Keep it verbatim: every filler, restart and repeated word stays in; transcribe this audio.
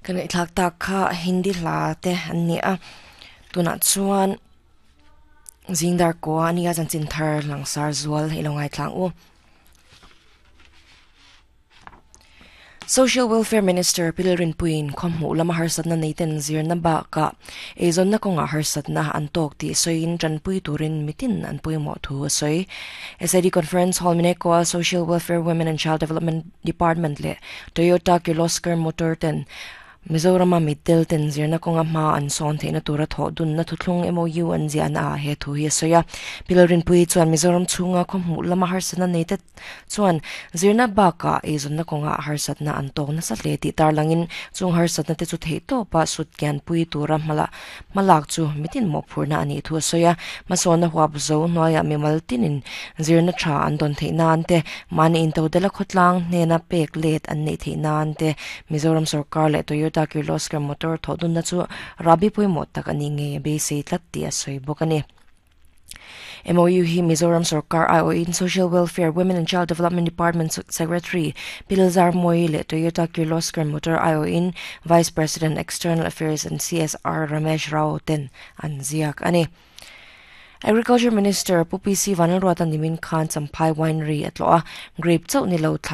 Kan ngaihthlak tak kha Hindi hla te an ni a tunah chuan zingdar ko ania chanchin thar langsar zual ilo ngaithlang u. Social Welfare Minister Pilrin Puin khomhu lama harsatna neiten zirna ba ka eizon na konga harsatna an tok ti soin tranpui turin mitin an pui mo thu soi S I D Conference Hall mine ko Social Welfare Women and Child Development Department le Toyota Kirloskar Motor ten Mizorama middle ten zirna konga ma an son theina tura tho dun na thuthlung M O U an zian a he thu hi soya Pilrin Pui chuan Mizoram chunga khomhu lama harsatna neite chuan zirna ba ka eizon na konga harsatna an tok na sa le ti tarlangin chung harsatna te chu thei to pa sut kyan pui tura mala malak chu mitin mo phurna ani thu soya masona huap zo noya mimal tinin zirna tha an don theina ante mani in to dela khotlang hnena pek let an nei theina ante Mizoram sarkar le Toyota Kirloskar Motor thodun na chu rabi pui mo tak ani nge be sei tlat ti a soi bokani M O U hi Mizoram Sarkar I O in Social Welfare Women and Child Development Department Secretary Pilzar Moi le Toyota Kirloskar Motor I O in Vice President External Affairs and C S R Ramesh Rao ten an ziak ani. Agriculture Minister Pu P C Vanlalruata nimin khan Champhai Winery atloa grape chau ni lo thlai